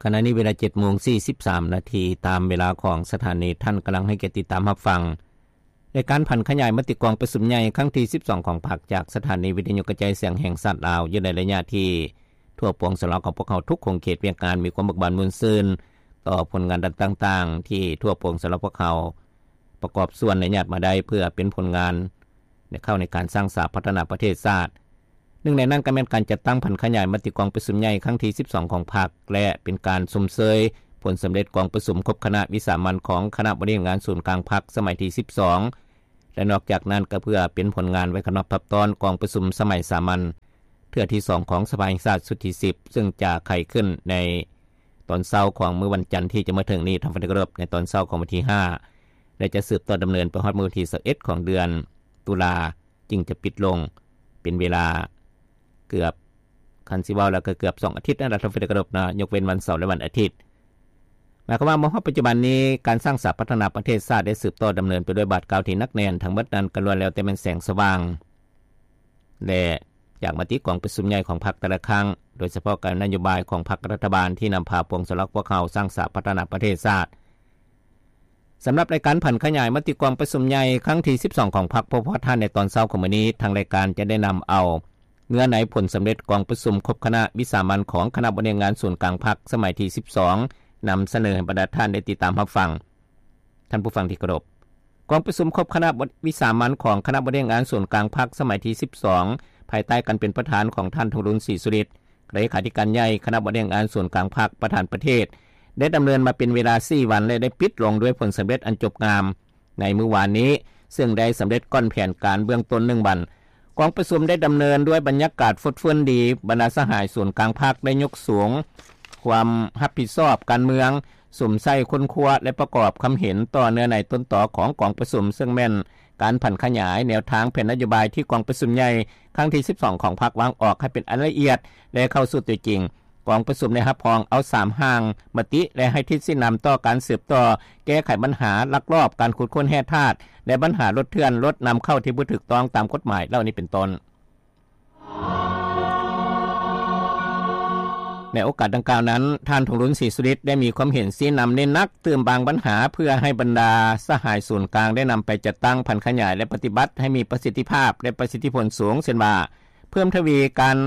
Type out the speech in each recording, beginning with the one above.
ຂະນະນີ້ເວລາ ເຈັດໂມງສີ່ສິບສາມນາທີ ຕາມເວລາຂອງສະຖານີ. ທ່ານກຳລັງໃຫ້ກຽດຕິດຕາມຮັບຟັງ ລາຍການຜັນຂະຫຍາຍມະຕິກອງປະຊຸມໃຫຍ່ຄັ້ງທີ ສິບສອງ ຂອງພັກ ຈາກສະຖານີວິທະຍຸກະຈາຍສຽງແຫ່ງຊາດລາວ ຢູ່ໃນໄລຍະທີ່ທົ່ວປວງຊາວລາວຂອງພວກເຮົາທຸກຂົງເຂດວຽກງານ ມີຄວາມເບີກບານມ່ວນຊື່ນຕໍ່ຜົນງານດ້ານຕ່າງໆ ທີ່ທົ່ວປວງຊາວລາວພວກເຮົາປະກອບສ່ວນ ແລະ ຍາດມາໄດ້ ເພື່ອເປັນຜົນງານ ໃນເຂົ້າໃນການສ້າງສາພັດທະນາປະເທດຊາດ. ໜຶ່ງໃນນັ້ນກໍແມ່ນການຈັດຕັ້ງຜັນຂະຫຍາຍມະຕິກອງປະຊຸມໃຫຍ່ຄັ້ງທີ ສິບສອງ ຂອງພັກ ແລະ ເປັນການຊົມເຊີຍຜົນສຳເລັດກອງປະຊຸມຄົບຄະນະວິສາມັນຂອງຄະນະບໍລິຫານງານສູນກາງພັກສະໄໝທີ ສິບສອງ ແລະ ນອກຈາກນັ້ນກໍເພື່ອເປັນຜົນງານໄວ້ຂັດຮອບທັບຕ້ອນກອງປະຊຸມສະໄໝສາມັນເທື່ອທີ ສອງ ຂອງສະພາແຫ່ງຊາດຊຸດທີ ສິບ ຊຶ່ງຈະໄຂຂຶ້ນໃນຕອນເຊົ້າຂອງມື້ວັນຈັນທີ່ຈະມາເຖິງນີ້ ທ່ານຜູ້ທີ່ເຄົາລົບ, ໃນຕອນເຊົ້າຂອງວັນທີ ຫ້າ ແລະ ຈະສືບຕໍ່ດຳເນີນໄປຮອດມື້ວັນທີ ຊາວເອັດ ຂອງເດືອນຕຸລາ ຈຶ່ງຈະປິດລົງ ເປັນເວລາເກືອບ ຄັນຊິເວົ້າແລ້ວກໍເກືອບສອງອາທິດນັ້ນລະ ທ່ານຜູ້ທີ່ເຄົາລົບເນາະ, ຍົກເວັ້ນວັນເສົາ ແລະ ວັນອາທິດ. ໝາຍຄວາມວ່າມາຮອດປັດຈຸບັນນີ້ ການສ້າງສາພັດທະນາປະເທດຊາດໄດ້ສືບຕໍ່ດຳເນີນໄປດ້ວຍບາດກ້າວທີ່ໜັກແໜ້ນ, ທັງໝົດນັ້ນກໍລ້ວນແລ້ວແຕ່ແມ່ນແສງສະຫວ່າງ ແລະ ຈາກມະຕິກອງປະຊຸມໃຫຍ່ຂອງພັກແຕ່ລະຄັ້ງ, ໂດຍສະເພາະການນະໂຍບາຍຂອງພັກລັດຖະບານທີ່ນຳພາປວງຊາວລາວພວກເຮົາສ້າງສາພັດທະນາປະເທດຊາດ. ສຳລັບລາຍການຜັນຂະຫຍາຍມະຕິກອງປະຊຸມໃຫຍ່ຄັ້ງທີ ສິບສອງ ຂອງພັກ ພວກພວກທ່ານໃນຕອນເຊົ້າຂອງມື້ນີ້, ທາງລາຍການຈະໄດ້ນຳເອົາເນື້ອໃນຜົນສຳເລັດກອງປະຊຸມຄົບຄະນະວິສາມັນຂອງຄະນະບໍລິຫານງານສູນກາງພັກສະໄໝທີ ສິບສອງ ນຳສະເໜີໃຫ້ບັນດາທ່ານໄດ້ຕິດຕາມຮັບຟັງ. ທ່ານຜູ້ຟັງທີ່ເຄົາລົບ, ກອງປະຊຸມຄົບຄະນະວິສາມັນຂອງຄະນະບໍລິຫານງານສູນກາງພັກສະໄໝທີ ສິບສອງ ພາຍໃຕ້ການເປັນປະທານຂອງທ່ານ ທອງລຸນ ສີສຸລິດ ເລຂາທິການໃຫຍ່ຄະນະບໍລິຫານງານສູນກາງພັກ ປະທານປະເທດ ໄດ້ດຳເນີນມາເປັນເວລາ ສີ່ ວັນ ແລະ ໄດ້ປິດລົງດ້ວຍຜົນສຳເລັດອັນຈົບງາມໃນມື້ວານນີ້, ເຊິ່ງໄດ້ສຳເລັດກ່ອນແຜນການເບື້ອງຕົ້ນ ໜຶ່ງ ວັນ. ກອງປະຊຸມໄດ້ດຳເນີນດ້ວຍບັນຍາກາດຟົດຟື້ນດີ, ບັນດາສະຫາຍສູນກາງພັກໄດ້ຍົກສູງຄວາມຮັບຜິດຊອບການເມືອງ, ສຸມໃສ່ຄົ້ນຄວ້າ ແລະ ປະກອບຄຳເຫັນຕໍ່ເນື້ອໃນຕົ້ນຕໍຂອງກອງປະຊຸມ, ເຊິ່ງແມ່ນການຜັນຂະຫຍາຍແນວທາງແຜນນະໂຍບາຍທີ່ກອງປະຊຸມໃຫຍ່ຄັ້ງທີ ສິບສອງ ຂອງພັກວາງອອກໃຫ້ເປັນອັນລະອຽດ ແລະ ເຂົ້າສູ່ຕົວຈິງ. ກອງປະຊຸມໄດ້ຮັບຮອງເອົາ ສາມ ຮ່າງມະຕິ ແລະ ໃຫ້ທິດຊີ້ນຳຕໍ່ການສືບຕໍ່ແກ້ໄຂບັນຫາລັກລອບການຂຸດຄົ້ນແຮ່ທາດ ແລະ ບັນຫາລົດເຖື່ອນ, ລົດນຳເຂົ້າທີ່ບໍ່ຖືກຕ້ອງຕາມກົດໝາຍເຫຼົ່ານີ້ເປັນຕົ້ນ. ໃນໂອກາດດັ່ງກ່າວນັ້ນ, ທ່ານ ທອງລຸນ ສີສຸລິດ ໄດ້ມີຄວາມເຫັນຊີ້ນຳເນັ້ນໜັກຕື່ມບາງບັນຫາ ເພື່ອໃຫ້ບັນດາສະຫາຍສູນກາງໄດ້ນຳໄປຈັດຕັ້ງ, ຜັນຂະຫຍາຍ ແລະ ປະຕິບັດໃຫ້ມີປະສິດທິພາບ ແລະ ປະສິດທິຜົນສູງ, ເຊັ່ນວ່າ ເພີ່ມທະວີການ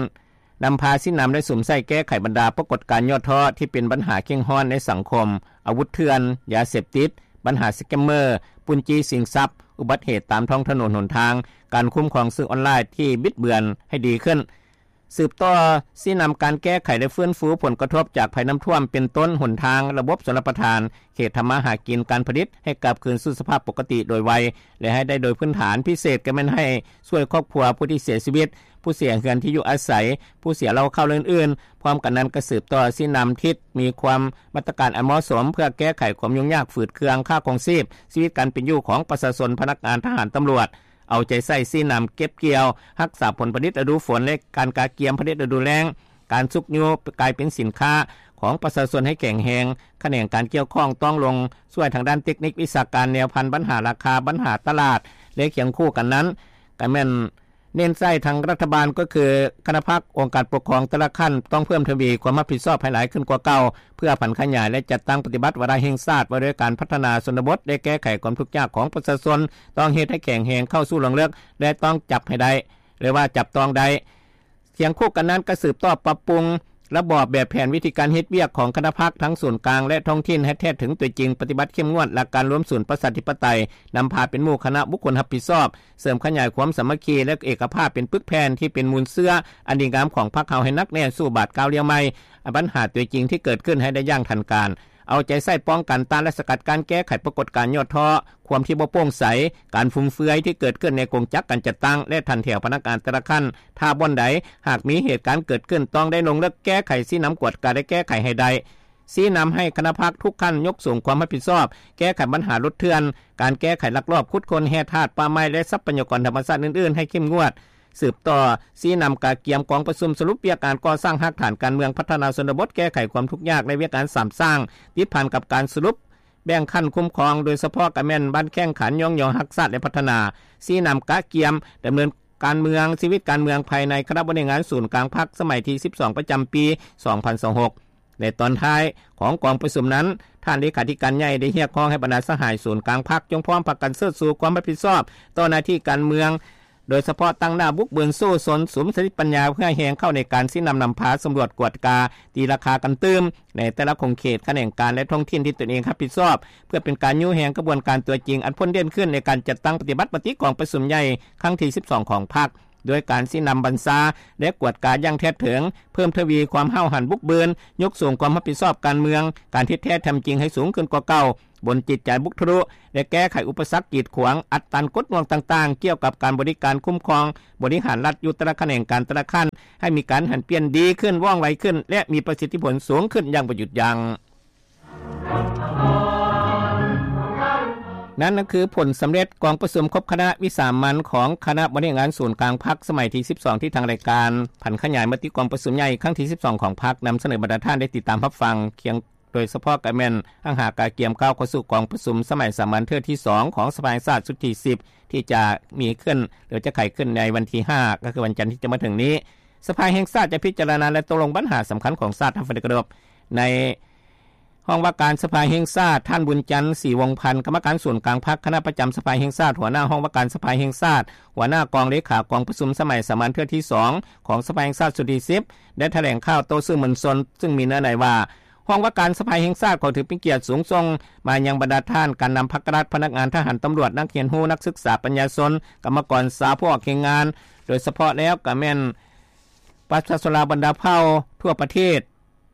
ນຳພາຊີ້ນຳ ແລະ ສຸມໃສ່ແກ້ໄຂບັນດາປາກົດການຫຍໍ້ທໍ້ທີ່ເປັນບັນຫາເຄັ່ງຮ້ອນໃນສັງຄົມ, ອາວຸດເຖື່ອນ, ຢາເສບຕິດ, ບັນຫາສະແກມເມີ, ປຸ້ນຈີ້ຊິງຊັບ, ອຸບັດເຫດຕາມທ້ອງຖະໜົນຫົນທາງ, ການຄຸ້ມຄອງສື່ອອນລາຍທີ່ບິດເບືອນໃຫ້ດີຂຶ້ນ. ສືບຕໍ່ຊີ້ນຳການແກ້ໄຂ ແລະ ຟື້ນຟູຜົນກະທົບຈາກໄພນ້ຳຖ້ວມ ເປັນຕົ້ນ ຫົນທາງ, ລະບົບຊົນລະປະທານ, ເຂດທຳມາຫາກິນ, ການຜະລິດ ໃຫ້ກັບຄືນສູ່ສະພາບປົກກະຕິໂດຍໄວ ແລະ ໃຫ້ໄດ້ໂດຍພື້ນຖານ, ພິເສດກໍແມ່ນໃຫ້ຊ່ວຍຄອບຄົວຜູ້ທີ່ເສຍຊີວິດ, ຜູ້ເສຍເຮືອນທີ່ຢູ່ອາໄສ, ຜູ້ເສຍເຫຼົ່າເຂົ້າ ແລະ ອື່ນໆ. ພ້ອມກັນນັ້ນກໍສືບຕໍ່ຊີ້ນຳທິດມີຄວາມມາດຕະການອັນເໝາະສົມ ເພື່ອແກ້ໄຂຄວາມຫຍຸ້ງຍາກຝືດເຄືອງຄ່າຄອງຊີບ, ຊີວິດການເປັນຢູ່ຂອງປະຊາຊົນ, ພະນັກງານ, ທະຫານ, ຕຳຫຼວດ, ເອົາໃຈໃສ່ຊີ້ນຳເກັບກ່ຽວ, ຮັກສາຜົນຜະລິດລະດູຝົນ ແລະ ການກະກຽມຜະລິດລະດູແລ້ງ, ການຊຸກຍູ້ກາຍເປັນສິນຄ້າຂອງປະຊາຊົນໃຫ້ແຂງແຮງ, ຂະແໜງການກ່ຽວຂ້ອງຕ້ອງລົງຊ່ວຍທາງດ້ານເຕັກນິກວິຊາການ, ແນວພັນບັນຫາລາຄາ, ບັນຫາຕະຫຼາດ ແລະ ຄຽງຄູ່ກັນນັ້ນ ກໍແມ່ນເນັ້ນໃສ່ທາງລັດຖະບານ ກໍຄືຄະນະພັກ, ອົງການປົກຄອງແຕ່ລະຂັ້ນ ຕ້ອງເພີ່ມທະວີຄວາມຮັບຜິດຊອບໃຫ້ຫຼາຍຂຶ້ນກວ່າເກົ່າ ເພື່ອຜັນຂະຫຍາຍ ແລະ ຈັດຕັ້ງປະຕິບັດວາລະແຫ່ງຊາດວ່າດ້ວຍການພັດທະນາຊົນນະບົດ ແລະ ແກ້ໄຂຄວາມທຸກຍາກຂອງປະຊາຊົນ, ຕ້ອງເຮັດໃຫ້ແຂງແຮງເຂົ້າສູ່ລວງເລິກ ແລະ ຕ້ອງຈັບໃຫ້ໄດ້ ຫຼືວ່າຈັບຕ້ອງໄດ້. ຄຽງຄູ່ກັນນັ້ນກໍສືບຕໍ່ປັບປຸງລະບອບແບບແຜນວິທີການເຮັດວຽກຂອງຄະນະພັກທັງສູນກາງ ແລະ ທ້ອງຖິ່ນໃຫ້ແທດເຖິງຕົວຈິງ, ປະຕິບັດເຂັ້ມງວດຫຼັກການລວມສູນປະຊາທິປະໄຕ, ນຳພາເປັນໝູ່ຄະນະບຸກຄົນຮັບຜິດຊອບ, ເສີມຂະຫຍາຍຄວາມສາມັກຄີ ແລະ ເອກະພາບເປັນປຶກແຜ່ນທີ່ເປັນມູນເຊື້ອອັນດີງາມຂອງພັກເຮົາໃຫ້ໜັກແໜ້ນສູ່ບາດກ້າວລ້ຽວໃໝ່, ບັນຫາຕົວຈິງທີ່ເກີດຂຶ້ນໃຫ້ໄດ້ຢ່າງທັນການ. ເອົາໃຈໃສ່ປ້ອງກັນ, ຕ້ານ ແລະ ສະກັດກັ້ນແກ້ໄຂປາກົດການຫຍໍ້ທໍ້, ຄວາມທີ່ບໍ່ໂປ່ງໃສ, ການຟຸມເຟືອຍທີ່ເກີດຂຶ້ນໃນກົງຈັກການຈັດຕັ້ງ ແລະ ຖັນແຖວພະນັກງານແຕ່ລະຂັ້ນ. ຖ້າບ່ອນໃດຫາກມີເຫດການເກີດຂຶ້ນ, ຕ້ອງໄດ້ລົງເລິກແກ້ໄຂ, ຊີ້ນຳກວດກາ ແລະ ແກ້ໄຂໃຫ້ໄດ້. ຊີ້ນຳໃຫ້ຄະນະພັກທຸກຂັ້ນຍົກສູງຄວາມຮັບຜິດຊອບ, ແກ້ໄຂບັນຫາລົດເຖື່ອນ, ການແກ້ໄຂລັກລອບຂຸດຄົ້ນແຮ່ທາດປ່າໄມ້ ແລະ ຊັບພະຍາກອນທຳມະຊາດອື່ນໆໃຫ້ເຂັ້ມງວດ. ສືບຕໍ່ຊີ້ນຳກະກຽມກອງປະຊຸມສະຫຼຸບວຽກງານກໍ່ສ້າງຮາກຖານການເມືອງ, ພັດທະນາຊົນນະບົດ, ແກ້ໄຂຄວາມທຸກຍາກ ແລະ ວຽກງານສາມສ້າງ ຕິດພັນກັບການສະຫຼຸບແບ່ງຂັ້ນຄຸ້ມຄອງ, ໂດຍສະເພາະກໍແມ່ນບ້ານແຂ້ງຂັນ, ຍ້ອງຍໍຮັກຊາດ ແລະ ພັດທະນາ. ຊີ້ນຳກະກຽມດຳເນີນການເມືອງ, ຊີວິດການເມືອງພາຍໃນຄະນະບໍລິຫານງານສູນກາງພັກສະໄໝທີ ສິບສອງ ປະຈຳປີ ສອງພັນຊາວຫົກ ໃນຕອນທ້າຍຂອງກອງປະຊຸມນັ້ນ, ທ່ານເລຂາທິການໃຫຍ່ໄດ້ຮຽກຮ້ອງໃຫ້ບັນດາສະຫາຍສູນກາງພັກ ຈົ່ງພ້ອມພາກັນເຊີດຊູຄວາມຮັບຜິດຊອບຕໍ່ໜ້າທີ່ການເມືອງ, ໂດຍສະເພາະຕັ້ງໜ້າບຸກເບີນສູ້ຊົນ ສຸມສະຕິປັນຍາເພື່ອແຮງເຂົ້າໃນການຊີ້ນຳນຳພາສຳຫຼວດກວດກາ, ຕີລາຄາກັນຕື່ມ ໃນແຕ່ລະຂົງເຂດ, ຂະແໜງການ ແລະ ທ້ອງຖິ່ນທີ່ຕົນເອງຮັບຜິດຊອບ, ເພື່ອເປັນການຍູ້ແຮງຂະບວນການຕົວຈິງ ອັນພົ້ນເດັ່ນຂຶ້ນໃນການຈັດຕັ້ງປະຕິບັດມະຕິກອງປະຊຸມໃຫຍ່ຄັ້ງທີສິບສອງຂອງພັກ, ດ້ວຍການຊີ້ນຳບັນຊາ ແລະ ກວດກາຢ່າງແທດເຖິງ, ເພີ່ມທະວີຄວາມຫ້າວຫັນບຸກບືນ, ຍົກສູງຄວາມຮັບຜິດຊອບການເມືອງ, ການເຮັດແທ້ທຳຈິງໃຫ້ສູງຂຶ້ນກວ່າເກົ່າ, ບົນຈິດໃຈບຸກທະລຸ ແລະ ແກ້ໄຂອຸປະສັກກີດຂວາງ, ອັດຕັນກົດໜ່ວງຕ່າງໆ ກ່ຽວກັບການບໍລິການຄຸ້ມຄອງບໍລິຫານລັດຢູ່ແຕ່ລະຂະແໜງການແຕ່ລະຂັ້ນ ໃຫ້ມີການຫັນປ່ຽນດີຂຶ້ນ, ວ່ອງໄວຂຶ້ນ ແລະ ມີປະສິດທິຜົນສູງຂຶ້ນຢ່າງບໍ່ຢຸດຢັ້ງ. ນັ້ນກໍຄືຜົນສຳເລັດກອງປະຊຸມຄົບຄະນະວິສາມັນຂອງຄະນະບໍລິຫານງານສູນກາງພັກສະໄໝທີສິບສອງ ທີ່ທາງລາຍການຜັນຂະຫຍາຍມະຕິກອງປະຊຸມໃຫຍ່ຄັ້ງທີສິບສອງຂອງພັກນຳສະເໜີບັນດາທ່ານໄດ້ຕິດຕາມຮັບຟັງ ຄຽງ ໂດຍສະເພາະກໍແມ່ນຮັງຫາກະກຽມກ້າວເຂົ້າສູ່ກອງປະຊຸມສະໄໝສາມັນເທື່ອທີສອງຂອງສະພາແຫ່ງຊາດຊຸດທີສິບ ທີ່ຈະມີຂຶ້ນ ຫຼື ຈະໄຂຂຶ້ນໃນວັນທີຫ້າ ກໍຄືວັນຈັນທີ່ຈະມາເຖິງນີ້. ສະພາແຫ່ງຊາດຈະພິຈາລະນາ ແລະ ຕົກລົງບັນຫາສຳຄັນຂອງຊາດ. ທ່ານປະທານທີ່ເຄົາລົບ, ໃນຫ້ອງວ່າການສະພາແຫ່ງຊາດ, ທ່ານ ບຸນຈັນ ສີວົງພັນ ກຳມະການສູນກາງພັກ, ຄະນະປະຈຳສະພາແຫ່ງຊາດ, ຫົວໜ້າຫ້ອງວ່າການສະພາແຫ່ງຊາດ, ຫົວໜ້າກອງເລຂາກອງປະຊຸມສະໄໝສາມັນເທື່ອທີສອງຂອງສະພາແຫ່ງຊາດຊຸດທີສິບ ໄດ້ຖະແຫຼງຂ່າວຕໍ່ສື່ມວນຊົນ ຊຶ່ງມີເນື້ອໃນວ່າ ຫ້ອງວ່າການສະພາແຫ່ງຊາດຂໍຖືເປັນກຽດສູງສົ່ງມາຍັງບັນດາທ່ານການນຳພັກກະລັດ, ພະນັກງານ, ທະຫານ, ຕຳຫຼວດ, ນັກຮຽນຮູ້, ນັກສຶກສາ, ປັນຍາຊົນ, ກຳມະກອນຊາວ, ຜູ້ອອກແຮງງານ, ໂດຍສະເພາະແລ້ວກໍແມ່ນປະຊາຊົນລາວບັນດາເຜົ່າທົ່ວປະເທດ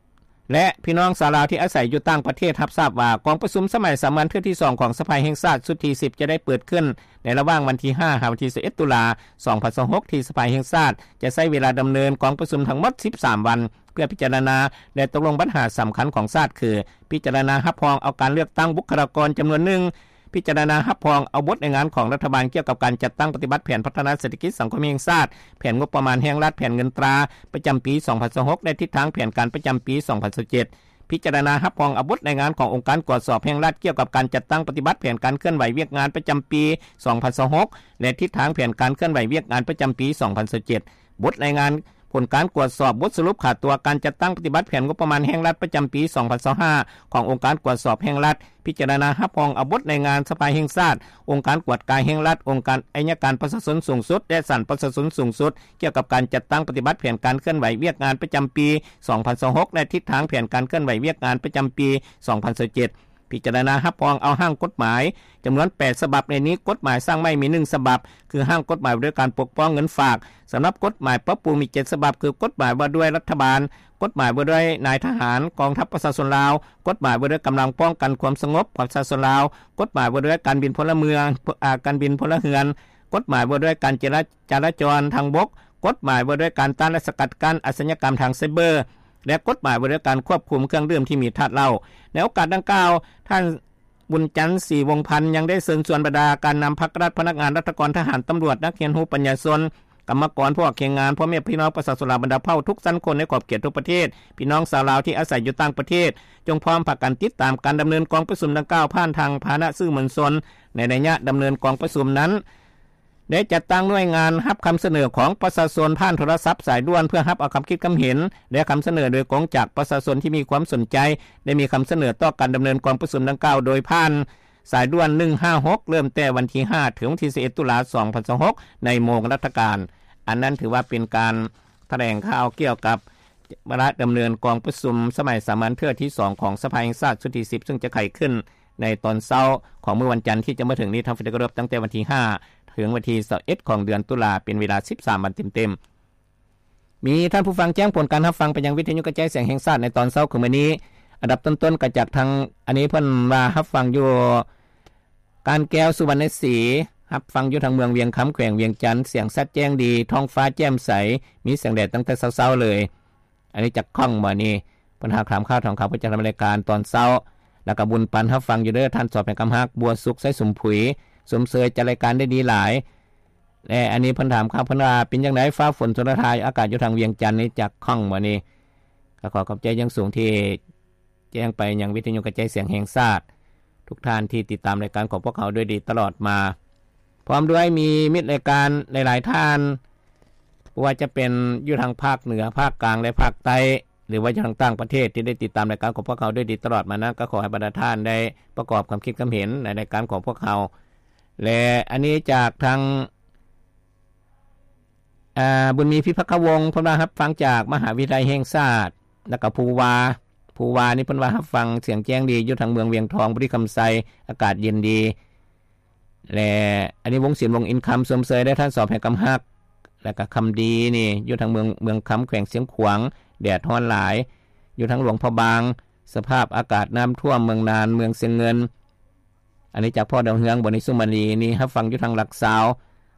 ແລະ ພີ່ນ້ອງຊາວລາວທີ່ອາໄສຢູ່ຕ່າງປະເທດ ຮັບຊາບວ່າ ກອງປະຊຸມສະໄໝສາມັນເທື່ອທີສອງຂອງສະພາແຫ່ງຊາດຊຸດທີສິບ ຈະໄດ້ເປີດຂຶ້ນໃນລະຫວ່າງວັນທີຫ້າ ຫາວັນທີຊາວເອັດ ຕຸລາ ສອງພັນຊາວຫົກ ທີ່ສະພາແຫ່ງຊາດຈະໃຊ້ເວລາດຳເນີນກອງປະຊຸມທັງໝົດສິບສາມວັນ ເພື່ອພິຈາລະນາ ແລະ ຕົກລົງບັນຫາສຳຄັນຂອງຊາດ ຄື ພິຈາລະນາຮັບຮອງເອົາການເລືອກຕັ້ງບຸກຄະລາກອນຈຳນວນໜຶ່ງ, ພິຈາລະນາຮັບຮອງເອົາບົດລາຍງານຂອງລັດຖະບານກ່ຽວກັບການຈັດຕັ້ງປະຕິບັດແຜນພັດທະນາເສດຖະກິດສັງຄົມແຫ່ງຊາດ, ແຜນງົບປະມານແຫ່ງລັດ, ແຜນເງິນຕາປະຈຳປີສອງພັນຊາວຫົກ ແລະ ທິດທາງແຜນການປະຈຳປີສອງພັນຊາວເຈັດ, ພິຈາລະນາຮັບຮອງເອົາບົດລາຍງານຂອງອົງການກວດສອບແຫ່ງລັດກ່ຽວກັບການຈັດຕັ້ງປະຕິບັດແຜນການເຄື່ອນໄຫວວຽກງານປະຈຳປີສອງພັນຊາວຫົກ ແລະ ທິດທາງແຜນການເຄື່ອນໄຫວວຽກງານປະຈຳປີສອງພັນຊາວເຈັດ, ບົດລາຍງານ ຜົນການກວດສອບບົດສະຫຼຸບຂາຕົວການຈັດຕັ້ງປະຕິບັດແຜນງົບປະມານແຫ່ງລັດປະຈຳປີສອງພັນຊາວຫ້າ ຂອງອົງການກວດສອບແຫ່ງລັດ, ພິຈາລະນາຮັບຮອງເອົາບົດລາຍງານສະພາແຫ່ງຊາດ, ອົງການກວດກາແຫ່ງລັດ, ອົງການໄອຍະການປະຊາຊົນສູງສຸດ ແລະ ສານປະຊາຊົນສູງສຸດ ກ່ຽວກັບການຈັດຕັ້ງປະຕິບັດແຜນການເຄື່ອນໄຫວວຽກງານປະຈຳປີສອງພັນຊາວຫົກ ແລະ ທິດທາງແຜນການເຄື່ອນໄຫວວຽກງານປະຈຳປີສອງພັນຊາວເຈັດ. ພິຈາລະນາຮັບຮອງເອົາຮ່າງກົດໝາຍຈຳນວນແປດສະບັບ, ໃນນີ້ກົດໝາຍສ້າງໃໝ່ມີໜຶ່ງສະບັບ ຄືຮ່າງກົດໝາຍວ່າດ້ວຍການປົກປ້ອງເງິນຝາກ. ສຳລັບກົດໝາຍປັບປຸງມີເຈັດສະບັບ ຄືກົດໝາຍວ່າດ້ວຍລັດຖະບານ, ກົດໝາຍວ່າດ້ວຍນາຍທະຫານກອງທັບປະຊາຊົນລາວ, ກົດໝາຍວ່າດ້ວຍກຳລັງປ້ອງກັນຄວາມສະຫງົບປະຊາຊົນລາວ, ກົດໝາຍວ່າດ້ວຍການບິນພົນລະເມືອງ, ອາ ການບິນພົນລະເຮືອນ, ກົດໝາຍວ່າດ້ວຍການຈະລາ ຈະລາຈອນທາງບົກ, ກົດໝາຍວ່າດ້ວຍການຕ້ານ ແລະ ສະກັດກັ້ນອາຊະຍາກຳທາງໄຊເບີ ແລະ ກົດໝາຍວ່າດ້ວຍການຄວບຄຸມເຄື່ອງດື່ມທີ່ມີທາດເຫຼົ້າ. ໃນໂອກາດດັ່ງກ່າວ, ທ່ານ ບຸນຈັນ ສີວົງພັນ ຍັງໄດ້ເຊີນຊວນບັນດາການນຳພັກລັດ, ພະນັກງານລັດຖະກອນ, ທະຫານ, ຕຳຫຼວດ, ນັກຮຽນຮູ້, ປັນຍາຊົນ, ກຳມະກອນ, ຜູ້ອອກແຮງງານ, ພໍ່ແມ່ພີ່ນ້ອງປະຊາຊົນລາວບັນດາເຜົ່າທຸກຊັ້ນຄົນໃນຂອບເຂດທົ່ວປະເທດ, ພີ່ນ້ອງຊາວລາວທີ່ອາໄສຢູ່ຕ່າງປະເທດ, ຈົ່ງພ້ອມພາກັນຕິດຕາມການດຳເນີນກອງປະຊຸມດັ່ງກ່າວຜ່ານທາງພາຫະນະສື່ມວນຊົນ. ໃນໄລຍະດຳເນີນກອງປະຊຸມນັ້ນ, ໄດ້ຈັດຕັ້ງໜ່ວຍງານຮັບຄຳສະເໜີຂອງປະຊາຊົນຜ່ານໂທລະສັບສາຍດ່ວນ ເພື່ອຮັບເອົາຄຳຄິດຄຳເຫັນ ແລະ ຄຳສະເໜີໂດຍກົງຈາກປະຊາຊົນທີ່ມີຄວາມສົນໃຈ ໄດ້ມີຄຳສະເໜີຕໍ່ການດຳເນີນກອງປະຊຸມດັ່ງກ່າວ ໂດຍຜ່ານສາຍດ່ວນໜຶ່ງຫ້າຫົກ ເລີ່ມແຕ່ວັນທີຫ້າ ເຖິງວັນທີຊາວເອັດ ຕຸລາ ສອງພັນຊາວຫົກ ໃນໂມງລັດຖະການ. ອັນນັ້ນຖືວ່າເປັນການຖະແຫຼງຂ່າວກ່ຽວກັບວາລະດຳເນີນກອງປະຊຸມສະໄໝສາມັນເທື່ອທີສອງຂອງສະພາແຫ່ງຊາດຊຸດທີສິບ ຊຶ່ງຈະໄຂຂຶ້ນ ໃນຕອນເຊົ້າຂອງມື້ວັນຈັນທີ່ຈະມາເຖິງນີ້ ທ່ານທີ່ເຄົາລົບ, ຕັ້ງແຕ່ວັນທີຫ້າ ເຖິງວັນທີຊາວເອັດ ຂອງເດືອນຕຸລາ ເປັນເວລາສິບສາມວັນເຕັມໆ. ມີທ່ານຜູ້ຟັງແຈ້ງຜົນການຮັບຟັງໄປຍັງວິທະຍຸກະຈາຍສຽງແຫ່ງຊາດໃນຕອນເຊົ້າຂອງມື້ນີ້. ອັນດັບຕົ້ນໆ ກໍຈາກທາງ ອັນນີ້ເພິ່ນວ່າຮັບຟັງຢູ່ການແກ້ວ ສຸວັນນະສີ, ຮັບຟັງຢູ່ທາງເມືອງວຽງຄຳ ແຂວງວຽງຈັນ, ສຽງຊັດແຈ້ງດີ, ທ້ອງຟ້າແຈ່ມໃສ, ມີແສງແດດຕັ້ງແຕ່ເຊົ້າໆເລີຍ. ອັນນີ້ຈາກຂ້ອງບໍ່ນີ້ ເພິ່ນຫາກຖາມຂ່າວທາງເຂົ້າປະຈຳລາຍການຕອນເຊົ້າ. ແລ້ວກໍບຸນປັນຮັບຟັງຢູ່ເດີ ທ່ານສອບແພງຄຳຮັກ ບົວສຸກ ໄຊສົມຜຸຍ ຊົມເຊີຍຈັດລາຍການໄດ້ດີຫຼາຍ. ແລະ ອັນນີ້ເພິ່ນຖາມຂ່າວ ເພິ່ນວ່າເປັນຈັ່ງໃດ ຟ້າຝົນຊົນລະທາຍ ອາກາດຢູ່ທາງວຽງຈັນນີ້ ຈາກຂ້ອງບໍ່ນີ້. ກໍຂໍຂອບໃຈຢ່າງສູງທີ່ແຈ້ງໄປຍັງວິທະຍຸກະຈາຍສຽງແຫ່ງຊາດ ທຸກທ່ານທີ່ຕິດຕາມລາຍການຂອງພວກເຮົາດ້ວຍດີຕະຫຼອດມາ. ພ້ອມດ້ວຍມີມິດລາຍການຫຼາຍໆທ່ານ ບໍ່ວ່າຈະເປັນຢູ່ທາງພາກເໜືອ, ພາກກາງ ແລະ ພາກໃຕ້, ຫຼືວ່າຢູ່ທາງຕ່າງປະເທດ ທີ່ໄດ້ຕິດຕາມລາຍການຂອງພວກເຮົາດ້ວຍດີຕະຫຼອດມານັ້ນ ກໍຂໍໃຫ້ບັນດາທ່ານໄດ້ປະກອບຄວາມຄິດຄວາມເຫັນໃນລາຍການຂອງພວກເຮົາ. ແລະ ອັນນີ້ຈາກທາງ ອາ ບຸນມີ ພິພັກຄະວົງ ເພິ່ນວ່າຮັບຟັງຈາກມະຫາວິທະຍາໄລແຫ່ງຊາດ ແລ້ວກໍພູວາ ພູວານີ້ເພິ່ນວ່າຮັບຟັງສຽງແຈ້ງດີ ຢູ່ທາງເມືອງວຽງທອງ ບໍລິຄຳໄຊ ອາກາດເຢັນດີ. ແລະ ອັນນີ້ວົງສິນ ວົງອິນຄຳ ຊົມເຊີຍໄດ້ທ່ານ ສອບແຫ່ງກຳຮັກ ແລ້ວກໍຄຳດີນີ້ ຢູ່ທາງເມືອງ ເມືອງຄຳ ແຂວງຊຽງຂວາງ ແດດຮ້ອນຫຼາຍ ຢູ່ທາງຫຼວງພະບາງ ສະພາບອາກາດນ້ຳຖ້ວມເມືອງນານ ເມືອງຊຽງເງິນ. ອັນນີ້ຈາກພໍ່ດາວເຮືອງ ບໍນິສຸມາລີ ນີ້ຮັບຟັງຢູ່ທາງຫຼັກຊາວ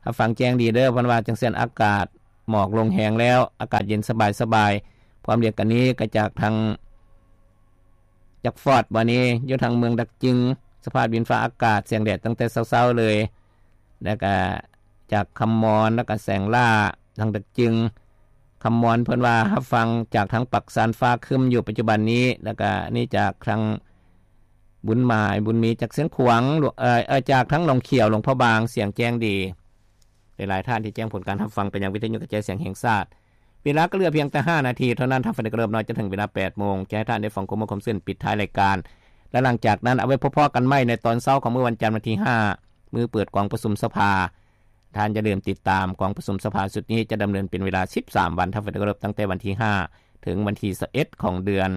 ຮັບຟັງແຈ້ງດີເດີ ເພິ່ນວ່າຈັ່ງຊັ້ນ ອາກາດໝອກລົງແຮງແລ້ວ ອາກາດເຢັນສະບາຍໆ. ພ້ອມດຽວກັນນີ້ກໍຈາກທາງ ຈາກຟອດ ບໍ່ນີ້ ຢູ່ທາງເມືອງດັກຈຶງ ສະພາບດິນຟ້າອາກາດ ແສງແດດຕັ້ງແຕ່ເຊົ້າໆເລີຍ ແລ້ວກະຈາກຄຳມອນ ແລ້ວກະແສງຫຼ້າ ທາງດັກຈຶງ ຄຳມອນ ເພິ່ນວ່າຮັບຟັງຈາກທາງປາກຊານ ຟ້າຄຶ້ມຢູ່ປັດຈຸບັນນີ້ ແລ້ວກະນີ້ຈາກທາງ ບຸນໝາຍ ບຸນມີ ຈາກຊຽງຂວາງ ເອີ ເອີ ຈາກທາງໜອງຂຽວ ຫຼວງພະບາງ ສຽງແຈ້ງດີ. ຫຼາຍໆທ່ານທີ່ແຈ້ງຜົນການຮັບຟັງໄປຍັງວິທະຍຸກະຈາຍສຽງແຫ່ງຊາດ. ເວລາກໍເຫຼືອພຽງແຕ່ຫ້ານາທີເທົ່ານັ້ນ ທ່ານຟັງທີ່ເຄົາລົບເນາະ ຈະເຖິງເວລາແປດໂມງ ຈະໃຫ້ທ່ານໄດ້ຟັງຂໍ້ມູນຄວາມຊື່ນປິດທ້າຍລາຍການ ແລະ ຫຼັງຈາກນັ້ນເອົາໄວ້ພໍ້ໆກັນໃໝ່ໃນຕອນເຊົ້າຂອງມື້ວັນຈັນ ວັນທີຫ້າ ມື້ເປີດກອງປະຊຸມສະພາ. ທ່ານຢ່າລືມຕິດຕາມກອງປະຊຸມສະພາຊຸດນີ້ ຈະດຳເນີນເປັນເວລາສິບສາມວັນ ທ່ານຟັງທີ່ເຄົາລົບ ຕັ້ງແຕ່ວັນທີຫ້າ ເຖິງວັນທີຊາວເອັດຂອງເດືອນ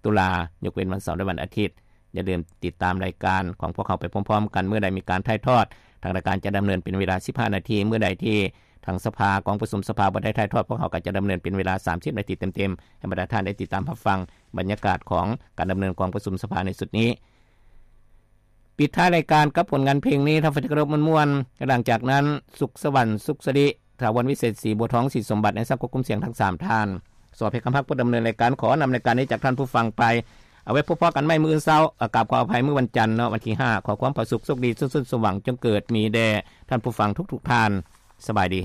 ຕຸລາ ຍົກເວັ້ນວັນເສົາ ແລະ ວັນອາທິດ. ຢ່າລືມຕິດຕາມລາຍການຂອງພວກເຮົາໄປພ້ອມໆກັນ ເມື່ອໃດມີການຖ່າຍທອດ ທາງລາຍການຈະດຳເນີນເປັນເວລາສິບຫ້ານາທີ ເມື່ອໃດທີ່ທາງສະພາ ກອງປະຊຸມສະພາບໍ່ໄດ້ຖ່າຍທອດ ພວກເຮົາກໍຈະດຳເນີນເປັນເວລາສາມສິບນາທີເຕັມໆ ໃຫ້ບັນດາທ່ານໄດ້ຕິດຕາມຮັບຟັງບັນຍາກາດຂອງການດຳເນີນກອງປະຊຸມສະພາໃນຊຸດນີ້. ປິດທ້າຍລາຍການກັບຜົນງານເພງນີ້ ທ່ານຟັງທີ່ເຄົາລົບ ມ່ວນໆ ແລະ ຫຼັງຈາກນັ້ນ ສຸກສະຫວັນ ສຸກສະລິ ຖາວອນ ວິເສດ ສີບົວທອງ ສີສົມບັດ ໃນສັບຄວບຄຸມສຽງທັງສາມທ່ານ. ສອບເພຄຳພັກຜູ້ດຳເນີນລາຍການ ຂໍນຳລາຍການນີ້ຈາກທ່ານຜູ້ຟັງໄປ ເອົາໄວ້ພົບພໍ້ກັນໃໝ່ມື້ອື່ນເຊົ້າ ອາ ກາບຂໍອະໄພ ມື້ວັນຈັນເນາະ ວັນທີຫ້າ ຂໍຄວາມຜາສຸກ ໂຊກດີ ສຸກສົນ ສວ່າງ ຈົ່ງເກີດມີແດ່ທ່ານຜູ້ຟັງທຸກໆທ່ານ. ສະບາຍດີ.